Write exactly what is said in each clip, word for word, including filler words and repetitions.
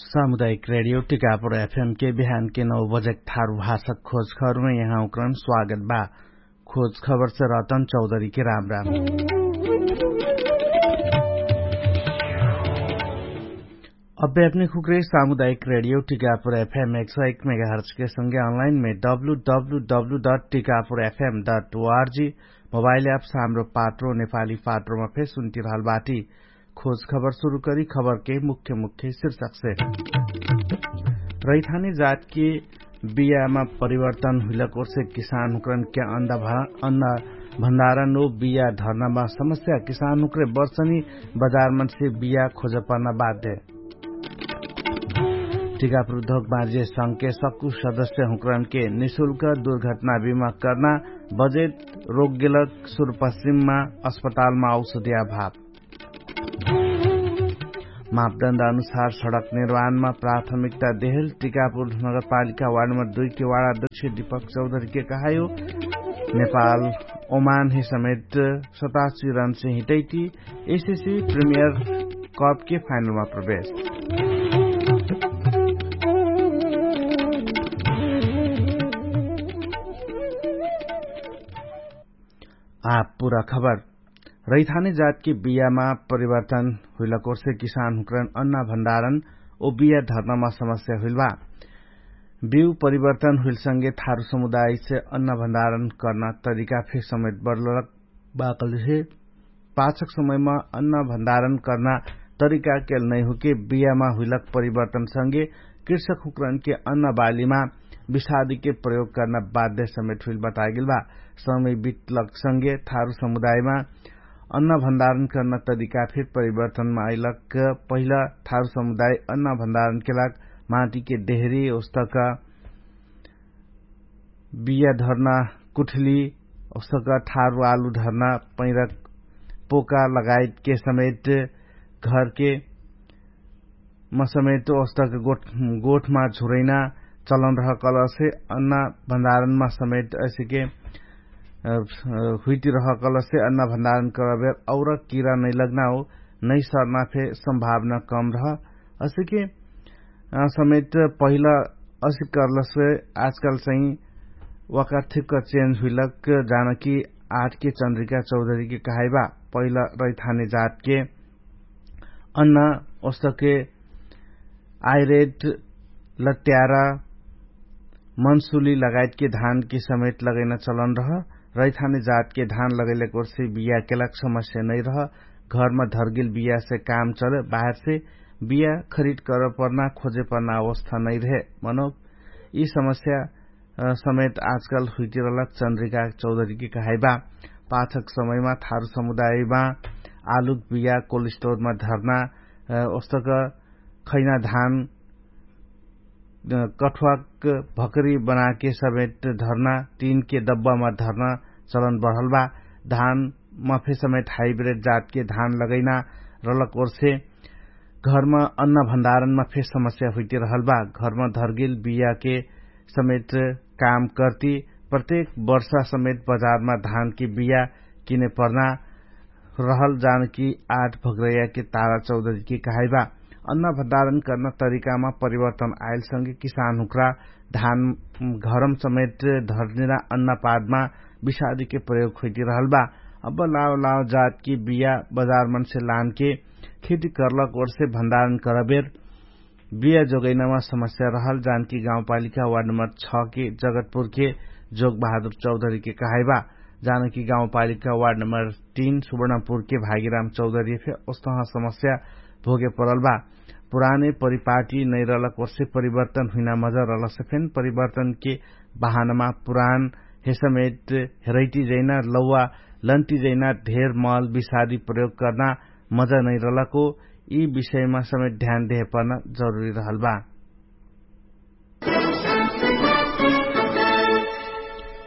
सामुदायिक रेडियो टिकापुर एफएम के बिहान के नौ बजेक थारु भाषक खोज खबरमे यहाँ उक्रन स्वागत बा। खोज खबर से रतन चौधरी के राम राम। अब्बे अपने खुक्रे सामुदायिक रेडियो टिकापुर एफएम एक सौ एक मेगाहर्च के संगे अनलाइन मे W W W dot Tikapur FM dot O R G mobile app साम्रो पात्रो नेपाली पात्रोमा फेर सुन्ति रहल बाटी। खोज खबर सुरु करी खबर के मुख्य मुख्य शीर्षक से। रैथाने जात के बियामा परिवर्तन हुइलक ओर्से किसान हुक्रन के अन्न भण्डारण ओ बिया धर्नामा समस्या किसान हुक्रे बर्सनी बजारमन से बिया खोजपर्ना बाध्य। टिकापुर उद्योग बाँझे संके सक्कु सदस्य हुक्रन के निशुल्क दुर्घटना बिमा कर्ना बजेट रोगेलक सुरपश्चिममा अस्पतालमा औषधिया भाव। मापदण्ड अनुसार सडक निर्माणमा प्राथमिकता देहल टिकापुर नगरपालिका वार्ड नम्बर दुई के वार्ड अध्यक्ष दीपक चौधरी के कहायो। नेपाल ओमान हे समेत सतासी रन से हिटैती एसिसी प्रिमियर कप के फाइनलमा प्रवेश। आप पुरा खबर। रैथाने जातके बियामा परिवर्तन हुइलक ओर्से किसान हुक्रन अन्ना भण्डारण ओ बिया धर्नामा समस्या हुइल बा। बिउ परिवर्तन हुइलसँगे थारु समुदायसे अन्ना भण्डारण कर्ना तरिका फेर समेत बढलक बाकलसे पाछक समयमा अन्ना भण्डारण कर्ना तरिका केल नैहुके बियामा हुइलक परिवर्तनसँगे कृषक हुक्रनके अन्ना बालीमा विषादीके प्रयोग कर्ना बाध्य समेट हुइल बतागेल बा। समय बितलक संगे थारु समुदायमा अन्न भण्डारण कर्ना तरिका फेर परिवर्तनमा अइलक। पहिला थारु समुदाय अन्न भण्डारण केलाक माटीके डेहरी ओस्तक बिया धर्ना कुठली ओस्तक थारु आलु धर्ना पैरक पोका लगायतके समेट घरके मसमेट ओस्तक गोठमा झुरैना चलन रहकलसे अन्ना भण्डारणमा समेट असिके हुइति रहकलसे अन्ना भण्डारण करबेर और किरा नैलग्ना हो नैसर्ना फे सम्भावना कम रह। असिके समेट पहिला असिक कर्लसे आजकाल चाहिँ वाकार्थिक चेन्ज हुइलक जानकी आठके चन्द्रिका चौधरीके कहाइबा। पहिला रैथाने जातके अन्न ओस्तके आइरेट लट्यारा मनसुली लगायतके धानके समेत लगैना चलन रह। रैथाने जातके धान लगैलेक ओर्से बिया केलाक समस्या नैरह। घरमा धर्गेल बियासे काम चल बाहेरसे बिया खरिद करपर्ना खोजेपर्ना अवस्था नैरहे। मनोक यि समस्या समेत आजकाल हुइतिरलक चन्द्रिका चौधरीके कहाइबा। पाछक समयमा थारु समुदायमा आलुक बिया कोल्ड स्टोरमा धर्ना ओस्तक खैना धान कठुवाक भकरी बनाके समेत धर्ना तीनके दब्बामा धर्ना चलन बढलबा। धान मफे समेत हाइब्रेड जातके धान लगैना रलक ओर्से घरमा अन्न भण्डारणमा फेर समस्या हुइतिरहलबा। घरमा धर्गेल बियाके समेत काम कर्ति प्रत्येक वर्षा समेत बजारमा धानके बिया किने पर्ना रहल जानकी आठ भग्रैयाके तारा चौधरीके कहाइबा। अन्न भण्डारण कर्ना तरिकामा परिवर्तन आइलसँगे किसान हुक्रा धान घरम समेट धर्निरा अन्नपादमा विषादीके प्रयोग खोइतिरहलबा। अब लाव लाव जातके बिया बजारमनसे लानके खेती कर्लक ओर्से भण्डारण करबेर बिया जोगैनामा समस्या रहल जानकी गाउँपालिका वार्ड नम्बर छ के जगतपुर के जोग बहादुर चौधरी के कहाइबा। जानकी गाउँपालिका वार्ड नम्बर तीन सुवर्णपुर के भागीराम चौधरी फे ओस्तह समस्या भोगे परल बा। पुराने परिपाटी नैरलक ओर्से परिवर्तन हुइना मजा रहलसे फेन परिवर्तन के बहानमा पुरान हेसमेट हेरैटी जैना लौवा लन्टी जैना ढेर मल विषादी प्रयोग कर्ना मजा नैरलको यि विषयमा समेत ध्यान देहे पर्ना जरुरी रहल बा।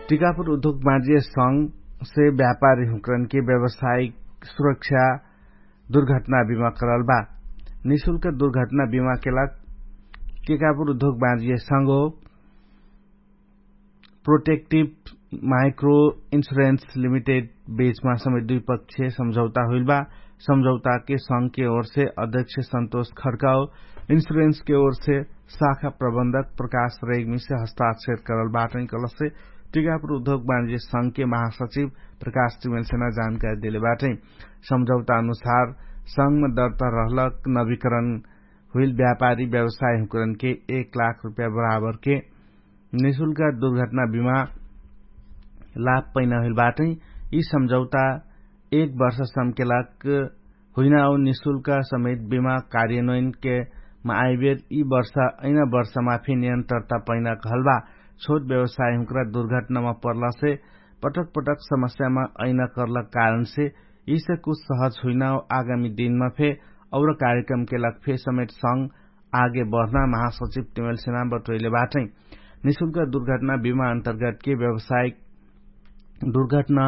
टिकापुर उद्योग बाँजिय संग से व्यापारी हुँकरन के व्यवसायिक सुरक्षा दुर्घटना बिमा करल बा। निशुल्क दुर्घटना बिमा केला टिकापुर उद्योग बाँजिय संग हो प्रोटेक्टिभ माइक्रो इन्सुरेन्स लिमिटेड बेचमा समेत दुई पक्ष सम्झौता हुइल बा। सम्झौताके संघके ओरसे अध्यक्ष सन्तोष खड्काओ इन्सुरेन्सके ओरसे शाखा प्रबन्धक प्रकाश रेग्मीसे हस्ताक्षर करल बाटै कलसे टिकापुर उद्योग बाणिज्य संघके महासचिव प्रकाश तिमेलसेना जानकारी देले बाटै। सम्झौता अनुसार संघमा दर्ता रहलक नवीकरण हुइल व्यापारी व्यवसाय हुँकरनके एक लाख रुपैया बराबरके निशुल्क दुर्घटना बिमा लाभ पैना हुइल बाटै। यी सम्झौता एक वर्ष सम्केलक हुइना औ निशुल्क समेत बिमा कार्यन्वयनके मा आइबेर यी वर्ष ऐना वर्षमा फे नियन्त्रता पैना कहलबा। छोट व्यवसाय हुँकरा दुर्घटनामा पर्लासे पटक पटक समस्यामा ऐना कर्लक कारणसे यिसे कुछ सहज हुइना औ आगामी दिनमा फे और कार्यक्रमके लग फे समेत संग आगे बढ्ना महासचिव तिमेलसेना बटोइले बाटै। निशुल्क दुर्घटना बिमा अन्तर्गतके व्यवसायिक दुर्घटना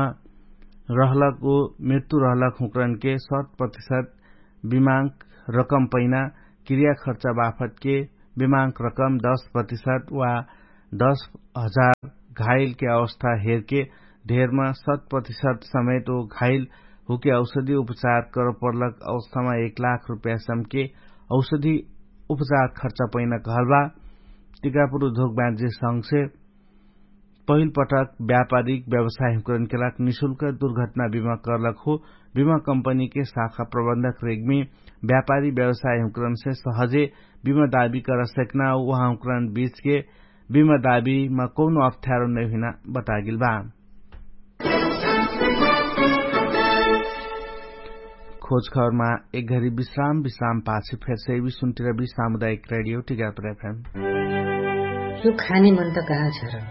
रहलक ओ मृत्यु रहलक हुँकरनके शत प्रतिशत बिमाक रकम पैना क्रिया खर्चा बाफतके बिमाक रकम दश प्रतिशत वा दश हजार घाइलके अवस्था हेरके ढेरमा शत प्रतिशत समेत ओ घाइल हुके औषधी उपचार करपर्लक अवस्थामा एक लाख रुपैयासमके औषधी उपचार खर्च पैना कहलबा। टिकापुर उद्योग बाणिज्य संघसे पहिल पटक व्यापारिक व्यवसाय हुँकरनके लाग निशुल्क दुर्घटना बिमा कर्लक हो। बिमा कम्पनीके शाखा प्रबन्धक रेग्मी व्यापारी व्यवसाय हुँकरनसे सहजे बिमा दाबी करसेक्ना उहाँ हुँकरन बीचके बिमा दाबीमा कौनो अप्ठ्यारो नैहुइना बतागेल बा। खोजखबरमा एक घरी विश्राम विश्राम पाछे फेरसे एबी सुन्टिरबी सामुदायिक रेडियो टिकापुर एफएम। यो खाने मन त कहाँ छ र?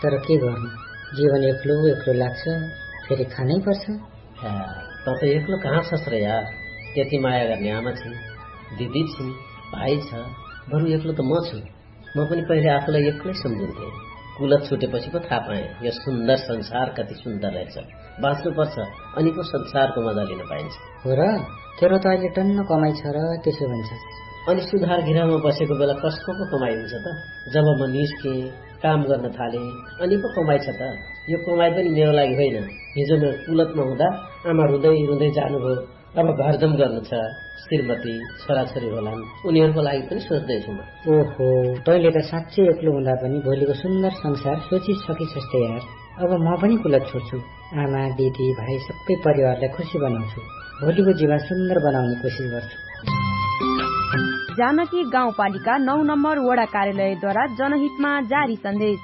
तर के गर्नु, जीवन एक्लो एक्लो लाग्छ। फेरि खानै पर्छ। त त एक्लो कहाँ छस र यार? त्यति माया गर्ने आमा छिन्, दिदी छिन्, भाइ छ। बरु एक्लो त म छु। म पनि पहिले आफूलाई एक्लै सम्झिन्थे। कुलत छुटेपछि पो थाहा पाएँ यो सुन्दर संसार कति सुन्दर रहेछ। बाँच्नु पर्छ, अनि पो संसारको मजा लिन पाइन्छ। हो र? तेरो त अहिले टन्न कमाइ छ र, त्यसो भन्छ। अनि सुधार गृहमा बसेको बेला कसको पो कमाइ हुन्छ त? जब म निस्केँ, काम गर्न थालेँ, अनि पो कमाइ छ त? यो कमाइ पनि मेरो लागि होइन। हिजो म कुलतमा हुँदा आमा रुँदै रुँदै जानुभयो। अब घरदम गर्नु छ, श्रीमती, छोराछोरी होलान्, उनीहरूको लागि पनि सोच्दैछु म। ओहो, तैँले त साँच्चै एक्लो हुँदा पनि भोलिको सुन्दर संसार सोचिसकिसक्छ यार। अब म पनि कुलत छोड्छु। आमा, दिदी, भाइ, सबै परिवारलाई खुसी बनाउँछु। भोलिको जीवन सुन्दर बनाउने कोसिस गर्छु। जानकी गाउँपालिका नौ नम्बर वडा कार्यालयद्वारा जनहितमा जारी सन्देश।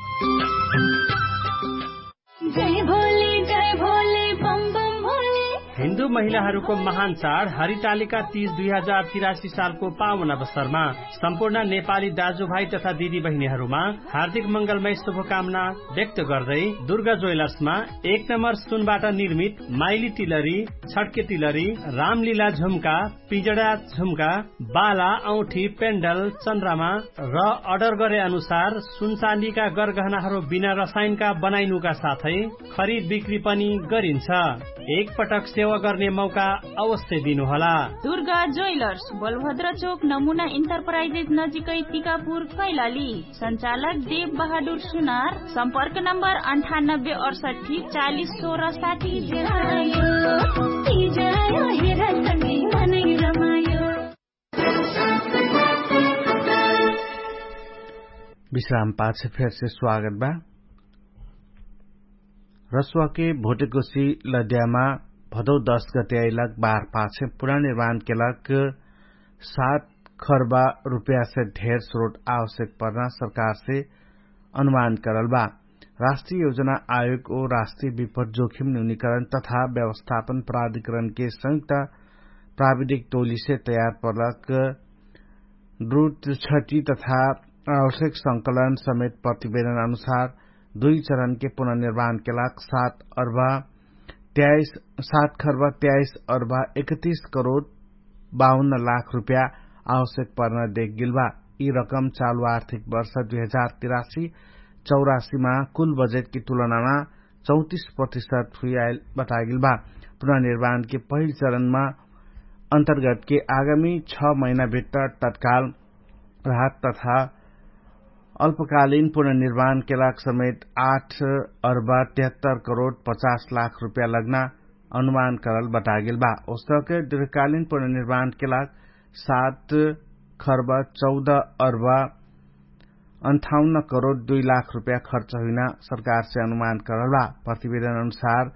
जय भोले, जय भोले, बम बम भोले। हिन्दू महिलाहरूको महान चाड हरितालिका तीज दुई हजार तिरासी सालको पावन अवसरमा सम्पूर्ण नेपाली दाजुभाइ तथा दिदीबहिनीहरूमा हार्दिक मङ्गलमय शुभकामना व्यक्त गर्दै दुर्गा ज्वेलर्समा एक नम्बर सुनबाट निर्मित माइली तिलरी, छड्के तिलरी, रामलीला झुम्का, पिजडा झुम्का, बाला, औँठी, पेन्डल, चन्द्रमा र अर्डर गरे अनुसार सुनचाँदीका गरगहनाहरू बिना रसायनका बनाइनुका साथै खरिद बिक्री पनि गरिन्छ। एक पटक सेवा गर्ने मौका अवश्य दिनुहोला। दुर्गा ज्वेलर्स, बलभद्र चोक, नमुना इन्टरप्राइजेस नजिकै, टिकापुर, कैलाली। सञ्चालक देव बहादुर सुनार। सम्पर्क नम्बर अन्ठानब्बे अडसट्ठी चालिस सोह्र साठी। विश्राम पाछे फेरसे स्वागत बा। रसुवाके भोटेकोसी लद्यामा भदौ दश गते आइलक बार पाछे पुनर्निर्माणके लक सात खर्बा रुपयासे ढेर स्रोट आवश्यक पर्ना सरकारसे अनुमान करल बा। राष्ट्रिय योजना आयोग ओ राष्ट्रिय विपट जोखिम न्यूनिकरण तथा व्यवस्थापन प्राधिकरणके संयुक्त प्राविधिक टोलीसे तयार पर्लक द्रुत क्षति तथा आवश्यक संकलन समेत प्रतिवेदन अनुसार दुई चरणके पुनर्निर्माणके लाग सात अर्बा त्याइस सात खर्बा त्याइस अर्बा एकतिस करोड बाउन्न लाख रुपया आवश्यक पर्न देखगेल बा। यि रकम चालु आर्थिक वर्ष दुई हजार तिरासी चौरासीमा कुल बजेटकी तुलनामा चौतिस प्रतिशत हुइआइल बतागेल बा। पुनर्निर्माणके पहिल चरणमा अन्तर्गतके आगामी छ महिनाभित्र तत्काल राहत तथा अल्पकालीन पुनर्निर्माणके लाग समेत आठ अर्बा तेहत्तर करोड पचास लाख रुपया लग्ना अनुमान करल बतागेल बा। ओस्तके दृढकालिन पुनर्निर्माणके लाग सात खर्ब चौध अर्ब अन्ठाउन्न करोड दुई लाख रुपया खर्च हुइना सरकारसे अनुमान करल बा। प्रतिवेदन अनुसार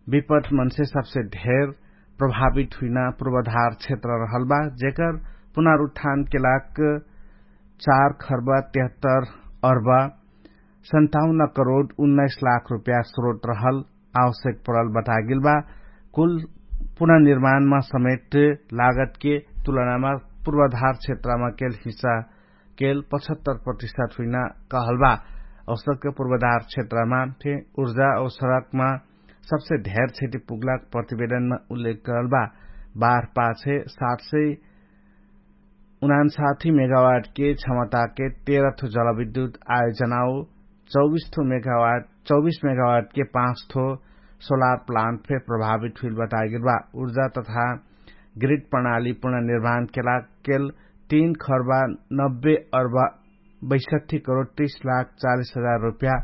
विपट मनसे सबसे ढेर प्रभावित हुइना पूर्वाधार क्षेत्र रहल बा, जेकर पुनरुत्थानके लाग चार खर्ब तेहत्तर अर्ब सन्ताउन्न करोड उन्नाइस लाख रुपया स्रोत रहल आवश्यक परल बतागेल बा। कुल पुनर्निर्माणमा समेट लागतके तुलनामा पूर्वाधार क्षेत्रमा केल हिस्सा केल पचहत्तर प्रतिशत हुइना कहल बा। औसतके पूर्वाधार क्षेत्रमा फे उर्जा औ सडकमा सबसे ढेर क्षति पुग्लाक प्रतिवेदनमा उल्लेख करल बा। बार पाछे सात सय उनान्साथी मेगावाटके क्षमताके तेह्र थो जलविद्युत आयोजनाओ चौबिस थो मेगावाट चौबिस मेगावाटके पाँच थो सोलार प्लान्ट फे प्रभावित हुइल बतागेल बा। उर्जा तथा ग्रिड प्रणाली पुनर्निर्माणके लाग केल तीन खर्बा नब्बे अर्बा बैसठी करोड तीस लाख चालिस हजार रुपया